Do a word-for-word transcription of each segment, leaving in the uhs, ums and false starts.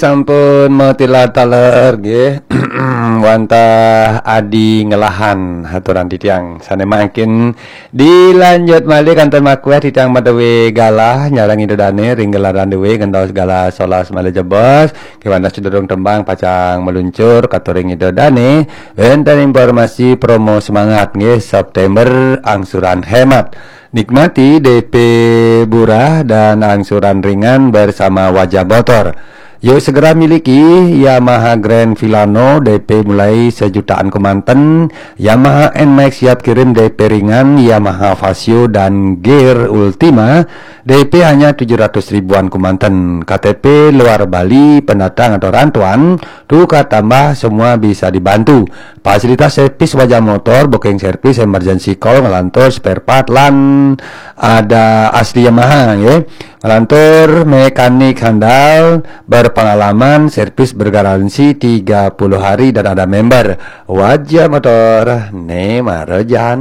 Sampun matilar taler nggih. Wantah adi ngelahan haturan titiang. Sane mangkin dilanjut malih kanten makueh titiang madewe galah nyareng Ida Dane ring gelaran dewe gentos galah solas malih jebos. Kewanten sedurung tembang pacang meluncur katuring Ida Dane. Wenten informasi promo semangat nggih September angsuran hemat. Nikmati D P murah dan angsuran ringan bersama Wajah Motor. Yuk segera miliki Yamaha Grand Filano D P mulai sejutaan kemanten, Yamaha N-Max siap kirim D P ringan, Yamaha Fazzio dan Gear Ultima D P hanya tujuh ratus ribuan kemanten. K T P luar Bali, pendatang atau rantauan, tukar tambah semua bisa dibantu. Fasilitas servis Wajah Motor, booking service, emergency call, ngelantur spare part lan ada asli Yamaha nggih. Ngelantur mekanik handal berpengalaman, servis bergaransi tiga puluh hari dan ada member. Wajah Motor ne marejan.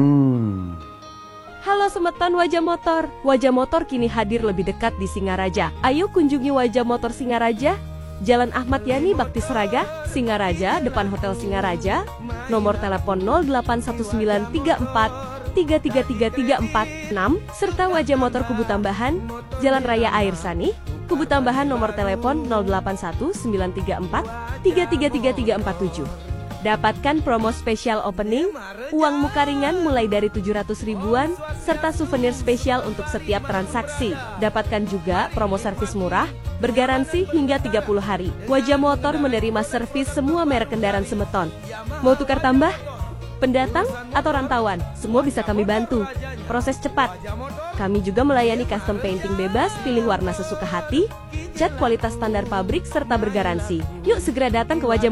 Halo semeton Wajah Motor. Wajah Motor kini hadir lebih dekat di Singaraja. Ayo kunjungi Wajah Motor Singaraja, Jalan Ahmad Yani Bakti Seraga, Singaraja, depan Hotel Singaraja. Nomor telepon nol delapan satu sembilan tiga empat tiga tiga tiga tiga empat enam serta Wajah Motor Kubu Tambahan, Jalan Raya Air Sani, Kubu Tambahan, nomor telepon nol delapan satu sembilan tiga empat tiga tiga tiga tiga empat tujuh. Dapatkan promo spesial opening, uang muka ringan mulai dari tujuh ratus ribuan, serta souvenir spesial untuk setiap transaksi. Dapatkan juga promo servis murah, bergaransi hingga tiga puluh hari. Wajah Motor menerima servis semua merek kendaraan semeton. Mau tukar tambah? Pendatang atau rantauan, semua bisa kami bantu. Proses cepat. Kami juga melayani custom painting bebas, pilih warna sesuka hati, cat kualitas standar pabrik, serta bergaransi. Yuk segera datang ke Wajah